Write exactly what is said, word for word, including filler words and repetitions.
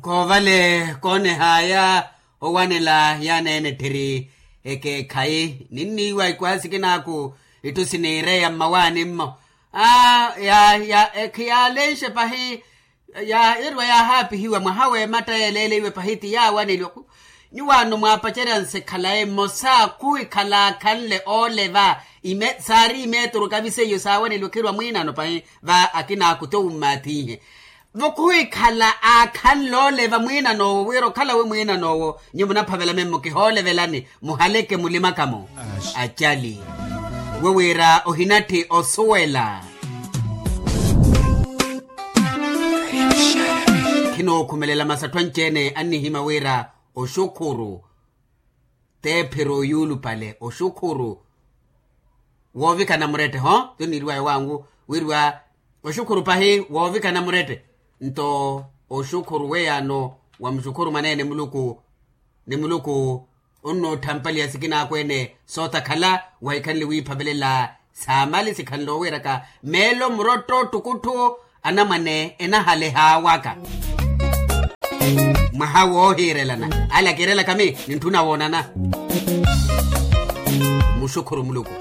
Koovale koonehaya owanela yaana ene etthiri ekeekhayi ninniiwa ikwaasi kinaaku itthu siniireya mmawaani-mmo. Aa ya ya ekhiyalenxe pahi. Yaahiriwa yaahaapihiwa mwaha w'ematta yeeleeleiwe pahi ti yaawaneliwa. Nyuwaano mwaapacerya nsikhala emosa khuhikhala aakhanle ooleva. Saari imeeturu kaviseiyo saawaneliwa khiriwa mwiinano pahi va akina akute wummaathihe. Vo khuhikhala aakhanle ooleva mwiinan'owo wira okhalawe mwiinan'owo nyuwo munaphavela memmo kihoolevelani. Muhaleke mulimaka-mo acali we wira ohinatthi osuwela. Khinookhumelela masatthu anci-ene annihima wira oxukhuru teephiro yuulupale oxukhuru woovikana murette ho. Tuniiriwaya wangu wiriwa oxukhuru pahi woovikana murette. Nto oxukhuru weyaano wa muxukhuru mwaneene muluku ni muluku. Onnootthampaliha sikinaakweene sootakhala wahikhanle wiiphavelela saamali sikhanle owiiraka meelo murotto ttukutthu anamwane enahalehaawaka. Mwaha woohiirelana ale akiirelaka mi nintthuna woonana. Muxukhuru muluku.